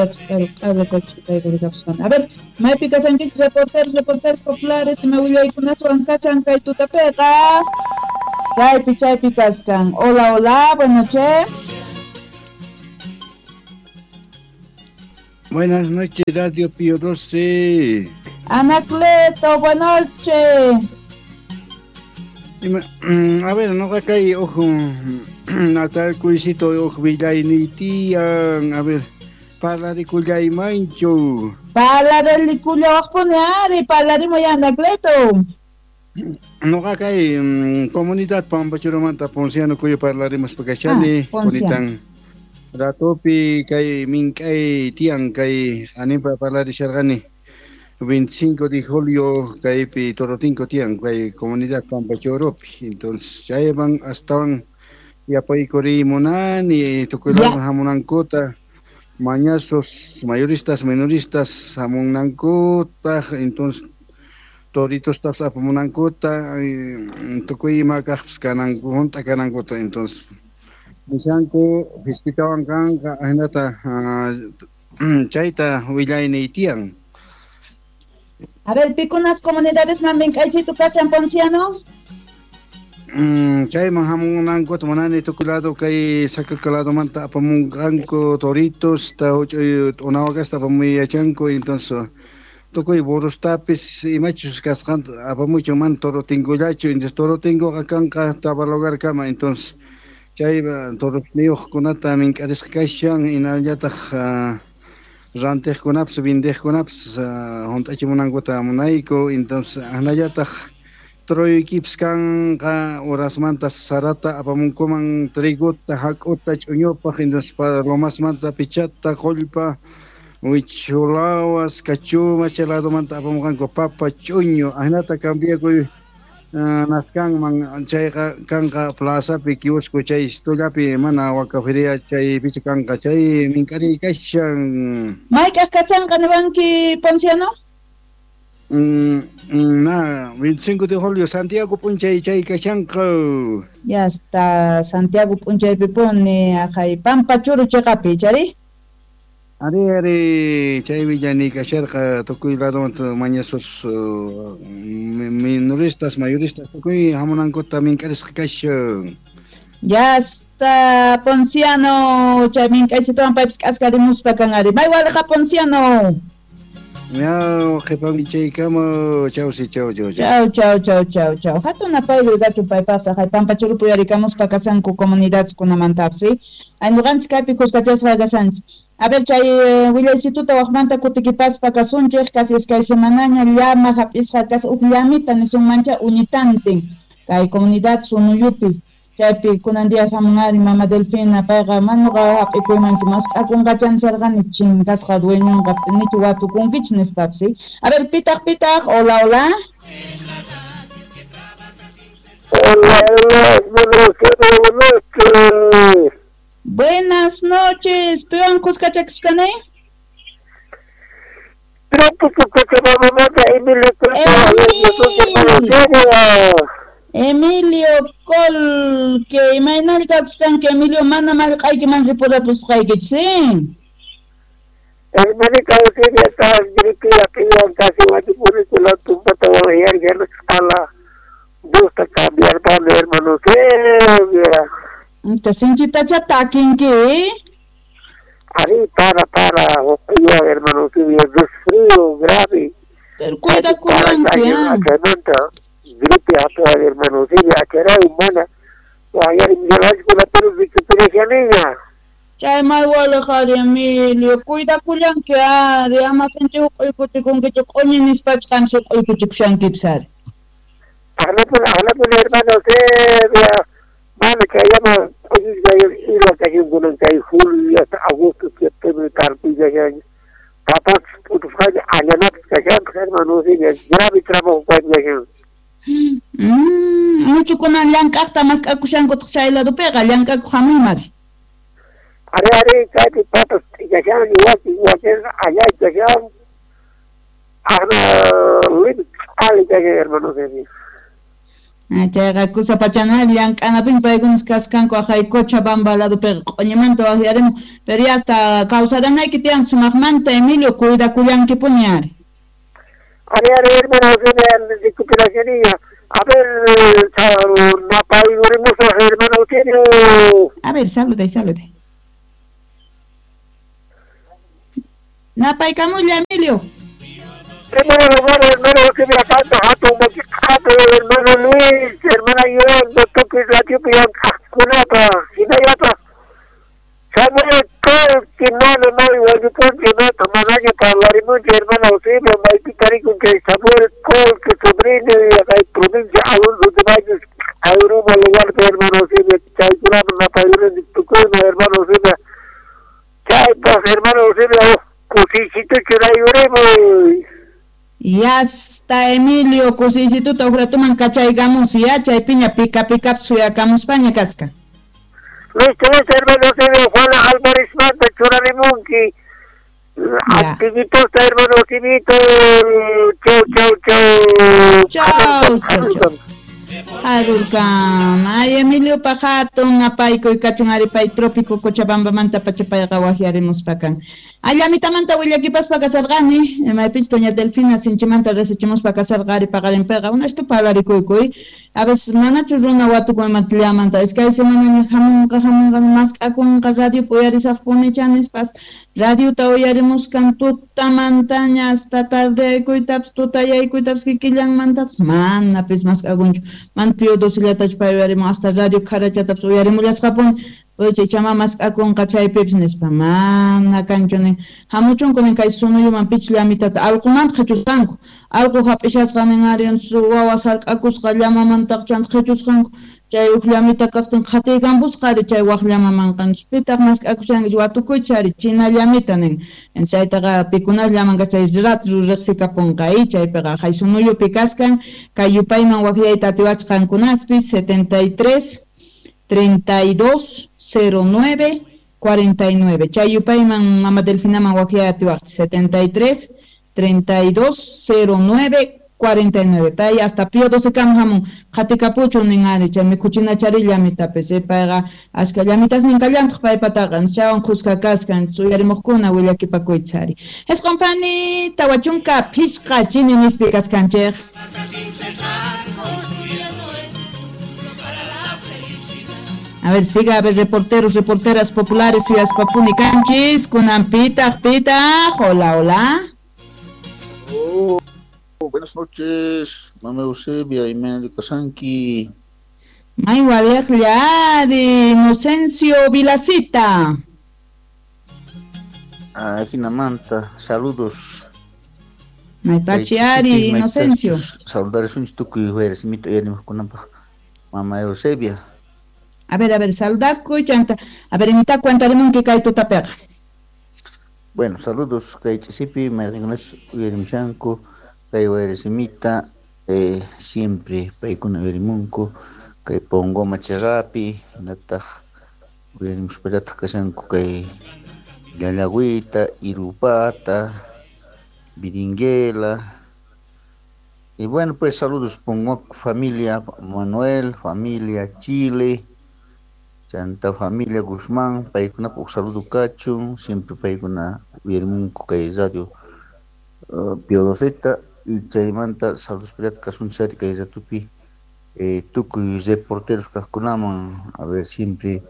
A ver, maypi kasankichik reporteros, reporteros populares, ima willaykunaswan kasan kay tutapiqa. Chaypi, chaypi kaskan. Hola, hola, buenas noches. Buenas noches, Radio Pío 12. Anacleto, buenas noches. A ver, no kay ojo natal kuisito ojo villayni tiyan, a ver, parlarikuyaymanchu. Parlarikullawaqpuni ari, parlarimuy Anacleto. Noqa kay comunidad Pampachurumanta Ponciano Cuyo parlarimuspa kashani, Ah, Ponciano. Ponitan ratopi kay mink'ay tiyan kay animpa parlarisharqani 25 de julio kaypi Torotinco tiyan kay comunidad Pampachurupi. Entonces chayman astawan yapaykuri munani tukuy Ya. Hamunankuta mañazos mayoristas menoristas hamunankuta, entonces toritos apamunankuta, tukuy ima kaqpis kananku hunt'a kanankuta. Entonces nishanku fiskitawan kanqa ajinata, chayta willayniy tiyan. A ver, pikunas comunidades man mink'aychito kashan Ponciano? Chayman hamunankuta munani tukuy lado kay Sakaka ladomanta apamunqanku toritos ta huch'uy t'unawakasta apamuy yachanku, entonces tukuy burrostapis imachus kasqanta apamuychu mana toro tinkullachu, entonces toro tinkuqa kanqa Tabalogarkama, entonces chay torosniyuqkunata mink'arisqa kashan, hinallataq rantiqkunapis vendeqkunapis hunt'achimunankuta munayku, entonces hinallataq toroykipis kanqa horasmanta sarata apamunkuman trigota, hak'uta, ch'uñupaq, entonces lomasmanta pichata, qullpa, wichulawas, kachuma, chay ladomanta apamunqanku papa, ch'uñu, ahinata cambiakuy naskanman chayqa kanqa plazapi kiosco chay estullapi mana waka feria chaypichu kanqa chay mink'ariy kashan. Mayk'aq kashanqa niwanki Ponciano? Na, 25 de julio, Santiago p'unchay chay kashanqa. Ya está, Santiago p'unchaypi puni, ajay, Pampachuru chiqapi, chari? Ari, ari, chay willani kasharqa tukuy ladomanta mañasos minoristas, mayoristas, tukuy hamunankuta mink'arisqa kashan. Ya está, Ponciano, chay mink'aysituwan paypis k'askarimuspa kan ari. May waliqa Ponciano. Miau, qhipan chaykama, chau si, chau, chau, chau. Chau, chau, chau, chau, chau. Hatun apayru gatu paypaqta, hay Pampachurupi uyarikamuspa kasanku comunidadeskunamantapis, Ay ñuqanchik kaypi kuskachasqa kasanchik. A ver, chay willaysituta waqmanta kutikipaspa kasunchik, casi iskay semanaña llama hap'isqa kas huk llamita nisunmancha uñitantin kay comunidad Sunuyupi. Chaypi kunan día hamunari mama Delfina payqa manuqa hap'ikuymanchu mask'akunqachan sarqani chinkasqa dueñonqa nichu watukunkichik nispapis. A ver, pitaq pitaq, hola, hola. Hola, hola, buenas noches. Buenas noches, piwan kuskachakuskani? Emilio Col, que imaynalla kawsasqanki Emilio, mana mallq'aykiman ripurapusqaykichu, sí? Hermanita Eugenia, está gripe piwan casi wachipurikula tumpata wayarqa gusta cambiar tan hermano Eugenia. Inta sinchitacha takinki. Ari para para hermano Eugenia, resfrío grave. Pero cuida cuidanki. Gripe a toda hermano Eugenia, achara humana. Wayar la pero recuperación. Chay malwala qhari Emilio, cuidakullanki ari, ama sinchi huq'uykuchikunkichu q'uñi nispachus qam huq'uykuchikushankipis ari. Ahlapuni hermano Eugenia, mana chayama q'uñisqa kashankunan kay julio hasta agosto, septiembre tarpuyashan papas p'utusqaña allanapis kashanpis hermano Eugenia, grave trabajo kashan. Muchu kunan llank'aqta mask'akushankutaq chay ladopiqa llank'akuq hamuymari. Ari ari kaypi papas kashan wakin wakin allay kashan ahna limit ali kashan hermano Eugenia. Chayqa kusapachana llank'anapin paykunas kaskanku aqhay Cochabamba ladopiqa q'uñimanta waqyarimun, pero ya hasta kawsaranayki tiyan sumaqmanta Emilio cuidakullankipuni ari. Ari, ari, hermana Eugenia, recuperación. A ver, napayurimusaq, hermana Eugenio. A ver, saluday, saluday. Napaykamulla, Emilio. Primer lugar, hermano Eugenia, Santa, hatun makiqapi, hermano Luis, hermana Yolanda, tukuy radiopi llank'aqkunapa, hinallataq Samuel Colqui, mana may wañupunchu, nata manaña parlarimunchu, hermana Eusebio, maypi tarikun chay Samuel Colqui, sobrino, kay provincia Alonso de Baños, Ayruma lugarpi, hermano Eusebio, chaykunaman napayuruni tukuyman, hermano Eusebio, chaypaq, hermano Eusebio, kusisituchu churayurimuy. Ya está Emilio, kusisituta uqratuman kachaykamus, ya chaypiña pika pikap suyakamuspaña kaska. Listo, listo, hermano Eusebio, Juana Álvarez manta churarimunki. Antiguitosta, hermano Eusebito. Chau, chau, chau. Chau, chau, chau. Harurkam. Ay, Emilio pajato, napaykuy kachun aripay trópico Cochabambamanta pachapayqa waqyarimuspakan. Allamitamanta willakipaspa kasarqani, maypich doña Delfina sinchimanta resichimuspa kasarqa ari paqarinpiqa, unastu parlarikuykuy. A veces manachu runa watukuymanta llamanta, es kay semana hamunqa hamunqa mask'akunqa radio uyarisaqpunicha nispas, radiota uyarimuskan tutamantaña hasta tardeaykuytapas tutayaykuytapas kikillanmantapas manapis mask'akunchu. Man Pío XII pay uyarimun hasta radio kharachatapas uyarimullasqapuni. Oye, chama mask'akunqa chaypipis nispa, mana kanchu nin. Hamuchunku nin kay sunuyuman pich llamitata allqumanta qhichusqanku. Allqu hap'ishasqa nin ari wawa sark'akusqa llamamantaq chanta qhichusqanku. Chay uj llamita kaqtin qhatiykampusqa ari chay waq llamamanqa. Pitaq mask'akushanki watukuychis ari china llamita nin. Chaytaqa pikunas llamanqa chay rat riqsikapunqa y chaypiqa hay sunuyupi kaskan kay yupayman waqyayta atiwachqankunaspis 73 32 09 49. Chay yupayman mama Delfinaman waqyay atiwaqchis 73 32 09 49. Pay hasta Pío XII kam hamun qhatikapuchun nin ari chay mikhuchinachari llamitapis payqa ashka llamitas nin kallantaq paypataqa chaywan khuska kaskan uyarimuqkuna willakipakuychis ari. Isqunpani 45 chini nispi kaskanchik. A ver, siga, a ver, reporteros, reporteras populares, ciudades papuni canchis, kunan pitaj, pitaj, hola, hola. Oh, buenas noches, mama Eusebia y Meli Kasanki. May walej yari, Inocencio Vilacita. Ah, Jinamanta, saludos. May pachiari, Inocencio. Saludar es un tukuy, jueves, mito mamá Eusebia. A ver, saludakuy, chanta. A ver, imita cuentarimunki kay tutapiqa. Bueno, saludos kay chisipi, mayqinkunachu uyarimushanku, kay wayrasimita, siempre paykuna uyarimunku, kay Pongoma chaqapi, hinataq uyarimuspallataq kashanku kay Llallagüita, Irupata, Viringuela. Y bueno, pues saludos Pongoma familia Manuel, familia Chile, Chanta familia Guzmán, paykunapaq saludo kachun, siempre paykuna uyarimunku kay radio Pío XII, y chaymanta saludos pillata kasunchari kay ratupi tukuy reporteros kaqkunaman, a ver, siempre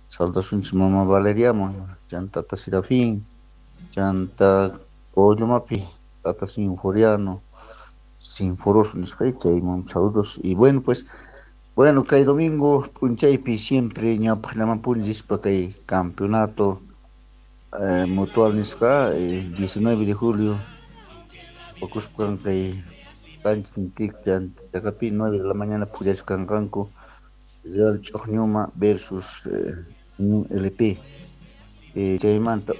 saludasunchis mama Valeriaman, chanta tata Serafín, chanta Collomapi, tata Sinforiano, Sinforoso nisqay, chayman saludos, y bueno, pues, bueno, kay domingo p'unchaypi siempre ñawpaqllamanpuni rispa kay campeonato mutual nisqa 19 de julio okuspan kay cancha chaqapi 9 de la mañana pullaskanqanku Real Ch'uqñuma versus Unión LP, chaymanta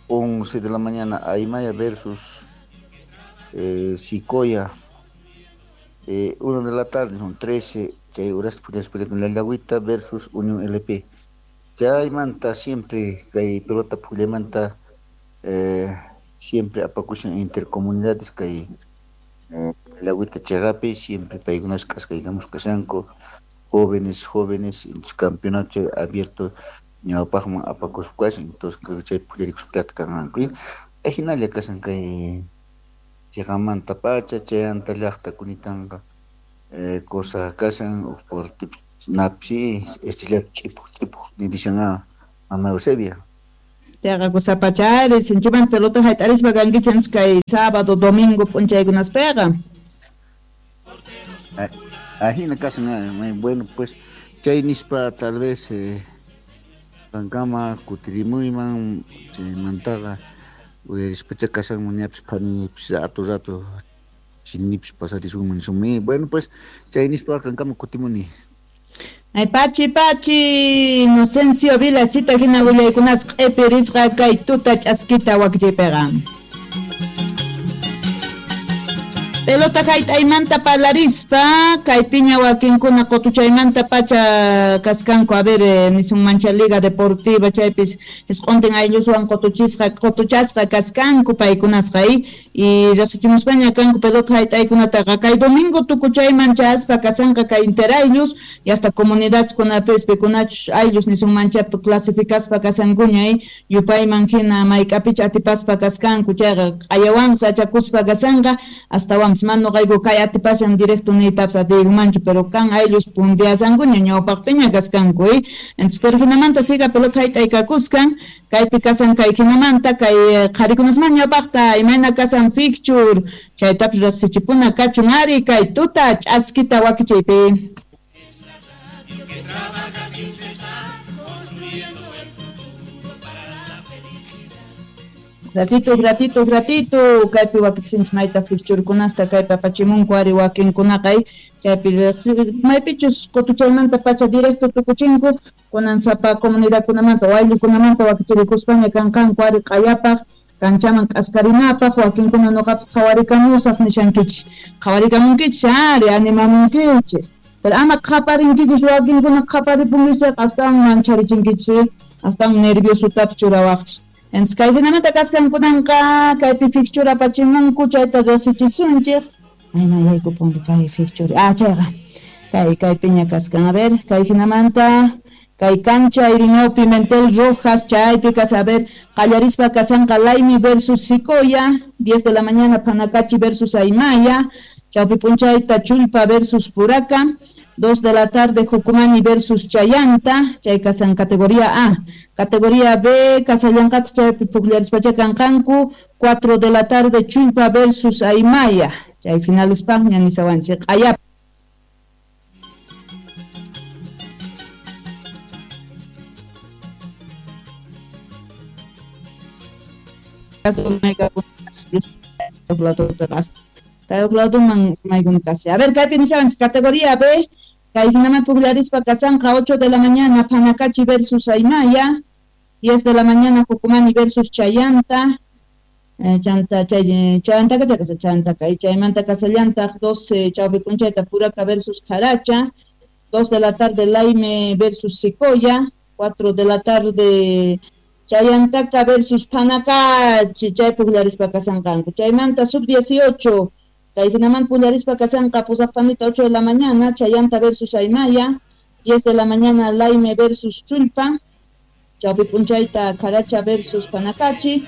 11 de la mañana Aymaya versus Sicoya, 1 de la tarde son 13 chay horas pullaspa Llallagüita versus Unión LP. Chaymanta siempre kay pelota pullamanta siempre apakushan intercomunidades kay Llallawita cheqapi siempre paykunas k'askaykamus kashanku jóvenes entonces campeonato abierto ñawpaqman apakuspa kashan entonces chay pukllarikuspa kanqanku ajinalla kashan kay cheqamanta pacha chayanta llaqta kunitanqa cosa kashan por napsi estrella ch'ipuq nirishan mama Eusebia. Chayqa kusapachari sinchiman pelota hayt'arispa kankichis kay sábado domingo p'unchaykunaspiqa. Ajina kashan bueno pues chay nispa tal vez kankama kutirimuyman chaymantaqa uyarispacha kashanman ñapis phanipis rato rato chinipis pasarisunman nisumi bueno pues chay nispa kankama kutimuni. Ay, pachi, pachi, Inocencio Vilasita hina willaykunas q'ipirisqa kay tuta ch'askita wakchaypiqa. Pelota hayt'aymanta parlarispa, kay piña wakinkuna qutuchaymanta pacha kaskanku, a ver, nisunmancha Liga Deportiva chaypis isq'untin aylluswan qutuchisqa qutuchasqa kaskanku paykunasqa y riqsichimuspaña kanku pelota hayt'aykunataqa kay domingo tukuchayman chaspa kasanqa kay interaylus y hasta comunidadkunapis pikunachus ayllus nisunmancha clasificaspa kasankuña yupayman hina mayk'apicha atipaspa kaskanku chayqa q'ayawanqa achakuspa kasanqa hasta mano qayku kay atipashan directo niytapas atiykumanchu pero kan ayllus puntiasankuña ñawpaqpiña kaskanku entonces pero hinamanta siga pelota hayt'aykakuskan kaypi kasan kay hinamanta kay qharikunasman ñawpaqta imayna kasan fixture chaytapas riqsichipuna kachun ari kay tuta ch'askita wakichaypi. Ratito, ratito, ratito, kaypi wakichinchis mayta fixturekunasta kaypi apachimunku ari wakinkunaqa chaypi maypichus qutuchaymanta pacha directo tukuchinku kunan sapa comunidadkunamanta o ayllukunamanta wakichirikuspaña kanqanku ari q'ayapaq kanchaman k'askarinapaq wakinkuna nuqapas qhawarikamusaq nishankichis qhawarikamunkichis ari animamunkichis pero ama qhaparinkichis wakinkuna qhaparipunkichis astawan mancharichinkichis astawan nerviosotapis churawaqchis. Entonces, kay hinamanta kaskankunanqa kaypi fixture apachimunku chayta riqsichisunchik. Ay, mayaykupunki kay fixture. Ah, chayqa. Kay kaypiña kaskan. A ver, kay hinamanta kay cancha Irineo Pimentel Rojas chaypi kas, a ver, qallarispa kasanqa Laimi versus Sicoya, 10 de la mañana Panacachi versus Aymaya, chawpi p'unchayta Chulpa versus Puraca, 2 de la tarde Jucumani versus Chayanta, chay kasan categoría A. Categoría B, kasallanqata chaypi pukllarispacha kanqanku, 4 de la tarde Chulpa versus Aymaya, chay finalespaqña nisawanchik q'ayap. A ver, kaypi nishawanchik categoría B, kay hinaman pukllarispa kasanqa 8 de la mañana Panacachi versus Aymaya, 10 de la mañana Jucumani versus Chayanta, chanta chayantaka chakasa chantaka y chaymanta kasallantaq 12 chawpi p'unchayta Puraca versus Caracha, 2 de la tarde Laime versus Sicoya, 4 de la tarde Chayantaka versus Panacachi, chay pukllarispa kasanqanku. Chaymanta sub 18 kay hinaman pukllarispa kasanqa pusaqpanita 8 de la mañana Chayanta versus Aymaya, 10 de la mañana Laime versus Chulpa, chawpi p'unchayta Caracha versus Panacachi,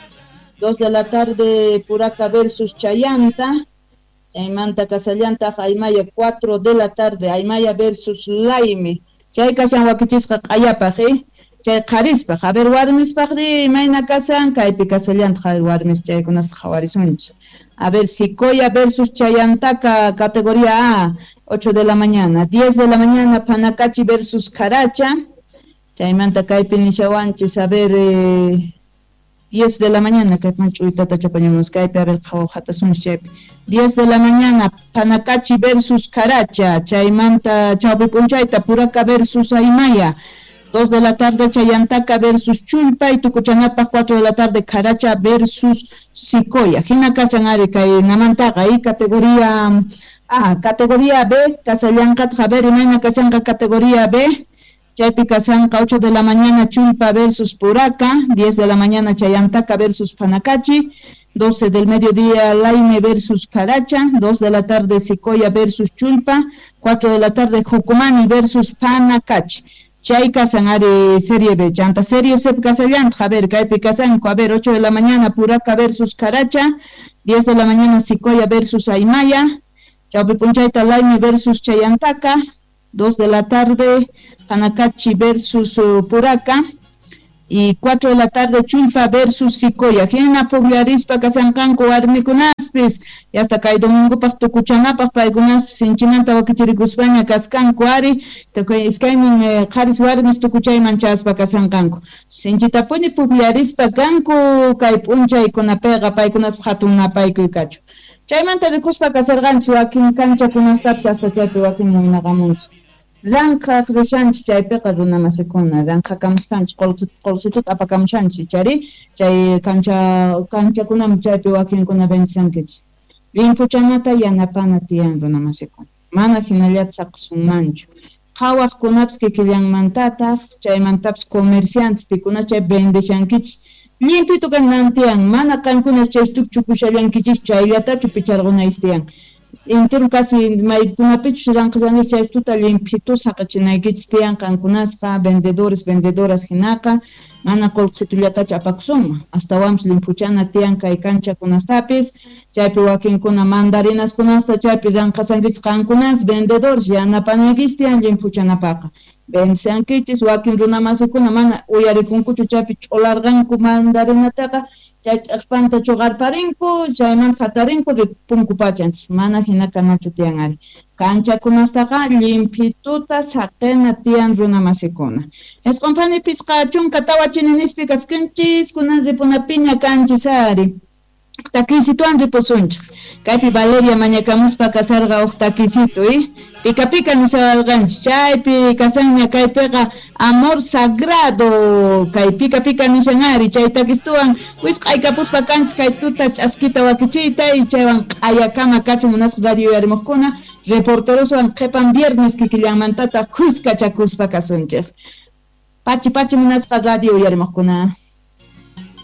2 de la tarde Puraca versus Chayanta, chaymanta kasallantaq Aymaya 4 de la tarde Aymaya versus Laime. Chay kashan wakichisqa q'ayapaq chay qharispaq. A ver, warmispaqri imayna kasan kaypi kasallantaq warmis chaykunaspa qhawarisunchis. A ver, Sicoya versus Chayantaka, categoría A, 8 de la mañana. 10 de la mañana, Panacachi versus Caracha. Chaymanta kaypi nishawanchis, a ver, 10 de la mañana, kaypi ch'uytata chapañamos, kaypi, a ver, qhawjatasunchis chaypi. 10 de la mañana, Panacachi versus Caracha. Chaymanta chawpi p'unchayta, Puraca versus Aymaya. 2 de la tarde, Chayantaka versus Chulpa, y tukuchanapaq 4 de la tarde, Caracha versus Sicoya. Hina kasan ari kay namantaqa y categoría A, categoría B, kasallanqataq, a ver, imayna kasanqa categoría B, chaypi kasanqa 8 de la mañana Chulpa versus Puraca, 10 de la mañana Chayantaka versus Panacachi, 12 del mediodía Laime versus Caracha, 2 de la tarde Sicoya versus Chulpa, 4 de la tarde Jucumani versus Panacachi. Chay kasan ari Serie B, chanta Serie C kasallanta, a ver, kaypi kasanku, a ver, 8 de la mañana Puraca versus Caracha, 10 de la mañana Sicoya versus Aymaya, Chaupi Punchayta Laime versus Chayantaka, 2 de la tarde Panacachi versus Puraca, y 4 de la tarde Chulpa versus Sicoya. Hina pugllarispa kasanqanku warmikunaspis, y hasta kay domingopaq tukuchanapaq paykunaspis sinchimanta wakichirikuspaña kaskanku ari, iskaynin qharis warmis tukuchayman chaspa kasanqanku. Sinchitapuni pugllarispa kanku kay p'unchaykunapiqa paykunaspaq hatun napaykuy kachu. Chaymanta rikuspa kasarqanchis wakin kanchakunastapis hasta chaypi wakin muynaqamunchis. Ranqhaq rishanchis chaypiqa runa masikuna, ranqhakamusqanchis qolqituta apakamushanchis chari, chay kanchakunaman chaypi wakinkuna vendisankichis. Limpuchanata yanapana tiyan runa masikuna, mana hinallata saqasunmanchu. Qhawaqkunapis kikillanmantataq, chaymantapis comerciantes pikuna chay vendishankichis. Limpito kanan tiyan, mana qankuna chay chupushallankichis chayllatachu picharqunaychis tiyan. Entero casi maykunapichus ranqashankichis chaystuta limpito saqachinaykichis tiyan qankunasqa vendedores, vendedoras hinaqa, mana qolqitullatachu apakusunman, astawanpis limpuchana tiyan kay kanchakunastapis, chaypi wakinkuna mandarinaskunasta chaypi ranqasankichis qankunas vendedores yanapanaykichis tiyan limpuchanapaqa. Vendisankichis wakin runamasikuna mana uyarikunkuchu chaypi ch'ularqanku mandarinataqa, chay ch'aqpanta chuqarparinku, chaymanta hatarinku ripunku pachanchis, mana hina kanachu tiyan ari. Kanchakunastaqa limpituta saqena tiyan runamasikuna. Isqunpani pisqa chunka tawa chininispi kaskanchis, kunan ripunapiña kanchis ari. Takisituan ripusunchik. Kaypi Valeria mañakamuspa kasarqa uj takisitu, Pika pika nishawarqanchis, chaypi kasanña kaypiqa amor sagrado, kay pika pika nishan ari, chay takistuwan wisq'aykapuspa kanchis kay tuta ch'askita wakichiyta y chaywan q'ayakama kachun munasqa radio uyarimuqkuna, reporteroswan qhipan viernes kikillanmantataq khuskachakuspa kasunchik. Pachi pachi munasqa radio uyarimuqkuna.